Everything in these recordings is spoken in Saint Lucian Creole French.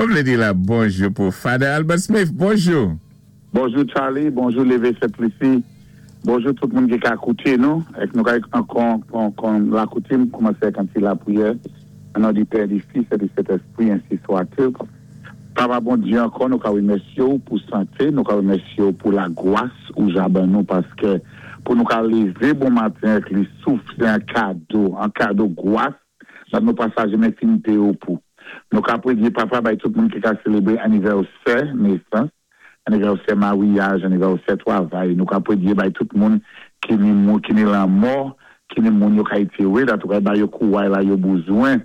Mwen vlé di la bonjou pou Father Albert Smith. Bonjou! Bonjou Charly, bonjou Leve Sent Lisi, bonjou tout moun ki ka kouté nou èk nou ka kon kon la koutim koumansé èk an ti lapriyè an non di Pè, di Fis è di Sentèspri ensi swatil. Papa Bondye ankò nou ka remèsyé w pou santé, nou ka remèsyé w pou lagwas ou ja ban nou paskè pou nou ka levé bon maten èk li souf sé an kado, an kado gwas dat nou pa sa jenmen fin péyé w pou. Nou ka pwédyé Papa bay tout moun ki ka selebré anivèsè nesans, anivèsè maryaj, anivèsè twavay, nou ka pwédyé bay tout moun ki ni mou ki ni lanmò, ki ni moun yo ka etyéwé dat ou ka ba yo kouway la yo bouzwen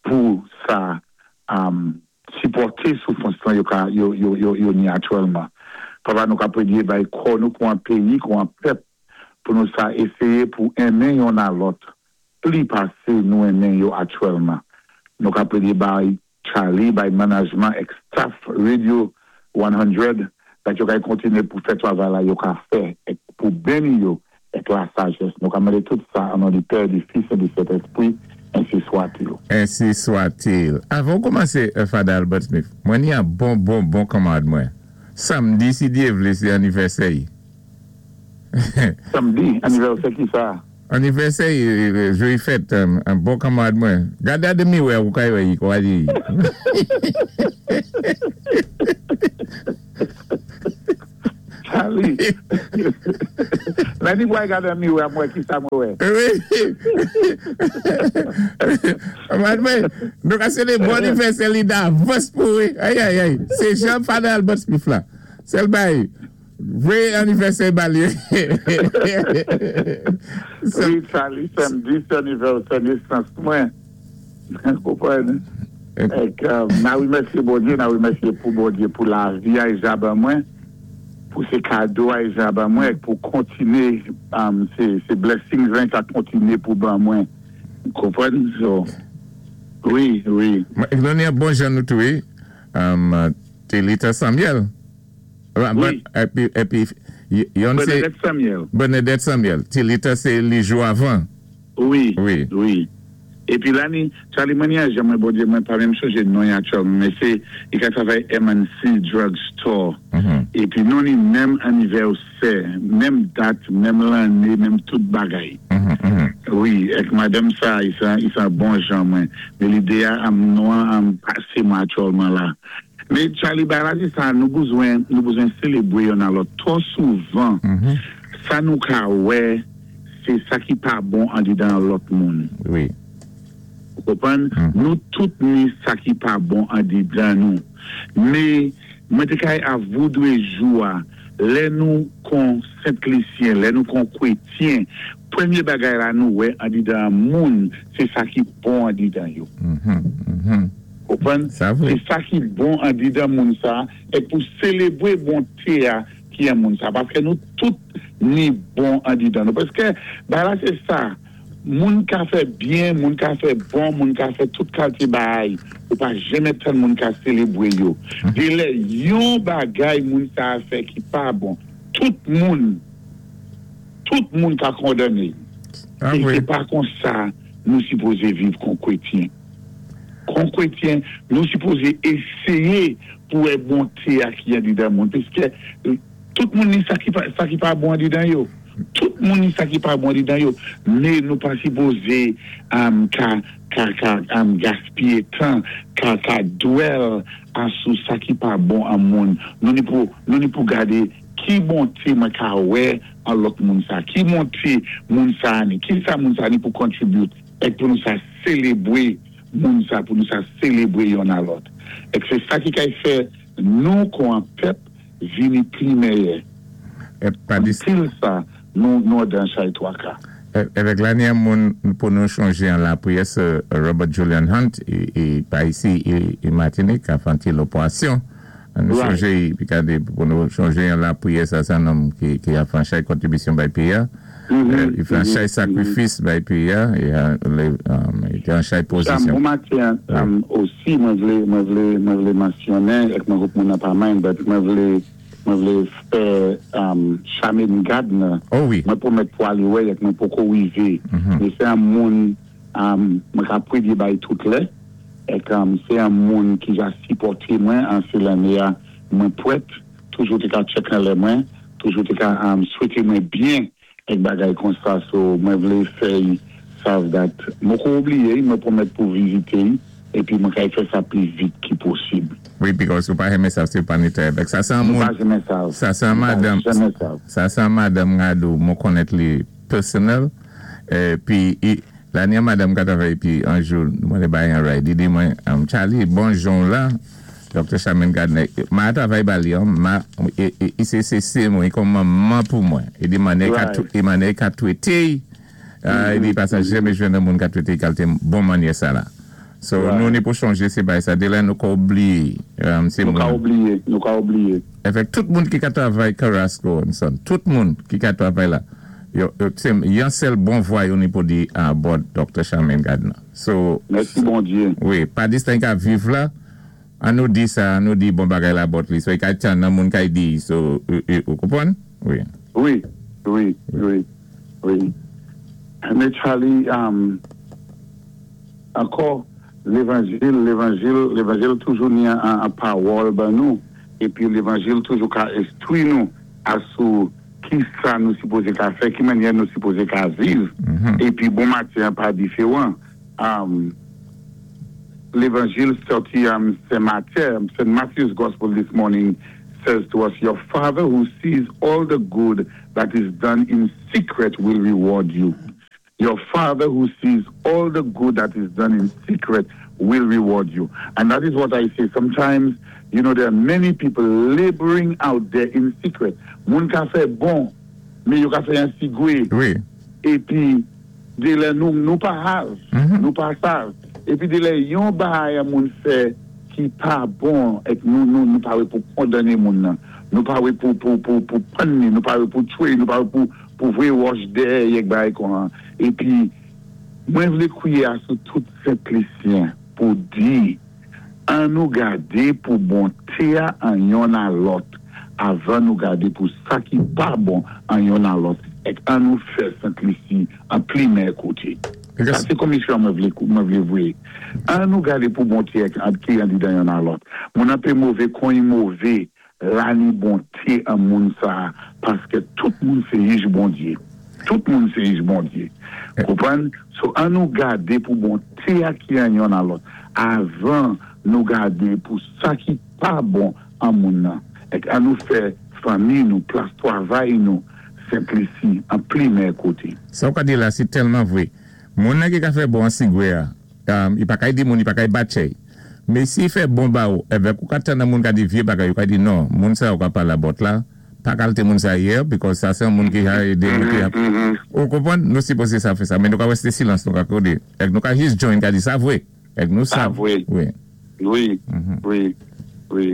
pou sa sipòte soufrans lan yo ka yo yo yo yo ni aktyèlman. Papa nou ka pwedye bay kò nou kou an peyi, kou an pèp pou nou sa eseye pou enmen yonn a lòt pli pase nou enmen yo aktyèlman. Nou ka pwedye bay Charly, bay manajman èk staff Radio 100 dat yo kay kontinye pou fè twavay la yo ka fè èk pou beni yo èk la sajès. Nou ka mande tout sa an non di Pè, di Fis e di Sentespri, ensi swatil. Ensi swatil. Avan ou koumanse Father Albert Smith, mwen ni an bon bon bon kanmarad mwen. Samdi si Dye vle se anivèsè y. Samdi? Anivèsè kisa? Anivèsè y, jou y fèt, an bon kanmarad mwen. Gade a de miwè ou ka wè y kwa y. Charly, Lè ni pral gade nan miwè a m wè kisa mwen wè. Wi. Kanmarad mwen, nou ka swete bon anivèsè li davans pou wi. Ayayay, se jan Father Albert Smith la. Sèl bay. Vre anivèsè ba li. Wi Charly samdi se anivèsè nesans mwen konprann ek na remèsye Bondye na remèsye pou Bondye pou lavi a ja ban mwen pou se kado a ja ban mwen ek pou kontine se blessings lan ka kontine pou ban mwen konprann so wi wi. Nou ni bon jan nou tou wi Telita Samuel. Wi. Epi yonn se. Bernadette Samuel. Bernadette Samuel. Tilita se li jou avan. Wi. Wi. Wi. Epi la ni, Charly mwen ni a jan mwen Bondye mwen pa menm sonje non y aktyèlman men se li ka travay MNC Drug Store. Epi non ni menm anivèsè, menm dat, menm lanne, menm tout bagay. Wi, ek madanm sa i se i se bon jan mwen. Men lide a am non an am pase mwen aktyèlman la. Men Charly bagay la se sa nou bezwen nou bezwen selebre yonn a lòt twò souvan sa nou ka wè se sa ki pa bon andedan lòt moun ou konprann nou tout ni sa ki pa bon andedan nou me mwen te kay avoudre jou a lè nou kon sentlisyen lè nou kon kwetyen premye bagay la nou wè andedan moun se sa ki bon andedan yo. Konprann? Se sa ki bon andedan moun sa e pou selebre bonte a ki an moun sa. Paske nou tout ni bon andedan nou. Paske bagay la se sa, moun ka fè byen, moun ka fè bon, moun ka fè tout kalte bagay. Ou pa janmen tann moun ka selebre yo. Gen lè yon bagay moun sa a fè ki pa bon, tout moun, tout moun ka kondane. E se pa konsa nou sipoze viv kon kretyen. Kon kretyen, nou sipoze eseye pou wè bonte a ki andedan moun, piske tout moun ni sa ki pa, sa ki pa bon andedan yo. Tout moun ni sa ki pa bon andedan yo. Men nou pa sipoze ka, ka, ka gaspiye tan, ka, ka dwell a sou sa ki pa bon an moun. Nou ni pou, nou ni pou gade ki bonte mwen ka wè an lòt moun sa, ki bonte moun sa ni, kisa moun sa ni pou contribute. Èk pou nou sa selebre moun sa, pou nou sa selebre yonn a lòt. Èk se sa ki kay fè nou kon an pèp vini pli mèyè. Anpil sa nou nou dan chay twaka. Evèk la ni an moun pou nou chonje an lapriyè sè Robert Julian Hunt e pa isi e Matinik a fanti loporasyon. An nou chonje y pi gade pou nou chonje an lapriyè sa se an nonm ki ap fè an chay kontribisyon bay peyi a li fè an chay sakrifis bay peyi a li te an chay pozisyon. Sam bon maten an osi mwen vle mwen vle mwen vle mansyonnen ek mwen hope moun nan pa mind but mwen vle mwen vle fè Charmaine Gardner mwen pwomèt pou ale wè y ek mwen poko rive men se an moun mwen ka prevye bay tout lè. Èk sé an moun ki ja sipòté mwen an sé lanné-a mwen pwèt, toujou té ka tchèk anlè mwen, toujou té ka swété mwen byen èk bagay konsa so mwen vlé fè-y sav dat moko oubliyé-y, mwen pwomèt pou vizité-y épi mwen kay fè sa pli vit ki posib. Wi because ou pa renmen sa se pa ni tè avèk sa se an moun sa se an madanm sa se an madanm Rado mwen konnèt li personal pi la ni an madanm ka travay epi an jou mwen te bay an ride li di mwen Charly bon jan w la Doctor Charmaine Gardner ma travay ba li an ma i se se se mwen i kòm manman pou mwen i di manè ka i manè ka twete i di pa sa jeme jwenn an moun ka twete i kalte bon manyè sa la so nou ni pou chonje se bay sa delè nou ka oubliye se moun nou ka oubliye nou ka oubliye. Efèk tout moun ki ka travay Carrasco and son tout moun ki ka travay la yo se yon sèl bon vwa yo ni pou di about Doctor Charmaine Gardner so Mèsi Bondye. Wi pa distan i ka viv la an nou di sa an nou di bon bagay la about li so i ka tann nan moun kay di so ou konprann wi. Wi wi wi wi men Charly ankò levanjil levanjil levanjil toujou ni an pawòl ban nou epi levanjil toujou ka enstwi nou asou kisa nou sipoze ka fè ki mannyè nou sipoze ka viv epi bon maten an pa diferan levanjil sòti sen Matye Saint Matthew's gospel this morning says to us your father who sees all the good that is done in secret will reward you. Your father who sees all the good that is done in secret will reward you. And that is what I say. Sometimes, you know, there are many people laboring out there in secret. Moun ka fè bon, men yo ka fè an sigwe. Wi. Épi, dé lè nou, nou pa hav, nou pa sav. Épi dé lè yon bagay moun fè ki pa bon, èk nou, nou, nou pa wé pou kondanné moun nan. Nou pa wé pou, pou, pou, pou pann ni, nou pa wé pou tchwé, nou pa wé pou, pou voyé wòch dèyè èk bagay kon Épi, mwen vlé kwiyé a sou tout Sent Lisyen pou di, an nou gadé pou bonté a an yonn a lòt, avan nou gadé pou sa ki pa bon an yonn a lòt, èk an nou fè Sent Lisi an pli mèyè koté. Sa sé komisyon mwen vlé mwen vlé voyé. An nou gadé pou bonté èk an ki andidan yonn a lòt. Moun an pé mové kon i mové, la ni bonté an moun sa paskè tout moun sé jij Bondyé. Tout moun sé jij Bondyé. Konprann? So an nou gadé pou bonté a ki an yonn a lòt avan nou gadé pou sa ki pa bon an moun nan. Èk an nou fè fanmi nou, plas twavay nou, Sent Lisi an pli mèyè koté. Sa ou ka di la se tèlman vre. Moun nan ki ka fè bon an sigwe a, i pa kay di moun, i pa kay batchèy. Men si i fè bon ba ou, evèk ou ka tann an moun ka di vye bagay, ou ka di non, moun sa ou ka pale about la, pa kalte moun sa yè, because sa se yon moun ki ha ede nou ki ap, ou konprann? Nou sipoze sa fè sa, men nou ka wè se silans nou ka kode. Èk nou ka jis join ka di sa vre. Èk nou Sa sa vre. Wi. Wi, wi, wi.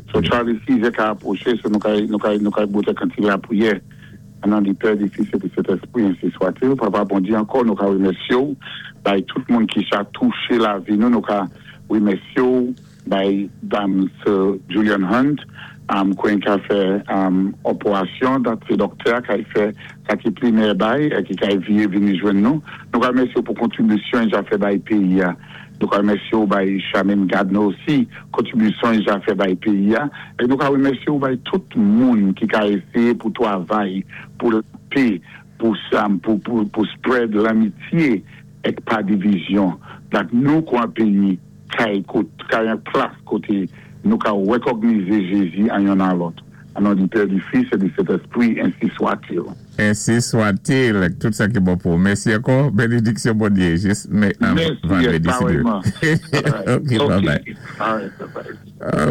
So Charly sizè ka apwoché, so nou ka nou ka nou ka bwotè kantik lapriyè. An non di Pè, di Fis e di Sentespri, ensi swatil. Papa Bondye, ankò nou ka remèsye w bay tout moun ki sa touche lavi nou, nou ka remèsye w bay dam Sir Julian Hunt kwen ka fè oporasyon dat se dòktè a kay fè sa ki pli mèyè bay e ki kay vire vini jwenn nou. Nou ka remèsye w pou kontribisyon ja fè bay peyi a. Nou ka remèsye w bay Charmaine Gardner osi kontribisyon ja fè bay peyi a. E nou ka remèsye w bay tout moun ki ka eseye pou twavay pou lapé, pou sa, pou, pou, pou spread lanmitye èk pa divizyon. Dat nou kon an peyi kay kot, kay an plas koté nou ka rekògnize Jezi an yonn a lòt. An non di Pè, di Fis e di Sentespri, ensi swatil. Ensi swatil, ak tout sa ki bon pou ou. Mèsi ankò, benediksyon Bondye jis me Mèsi, vandredi si Dye parèyman. Alright, Ok, bye ok. bye. Alright, bye bye.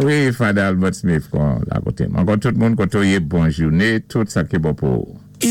Wi, Father Albert Smith kon la kote m. Ankò tout moun kote w ye, bon joune, tout sa ki bon pou ou.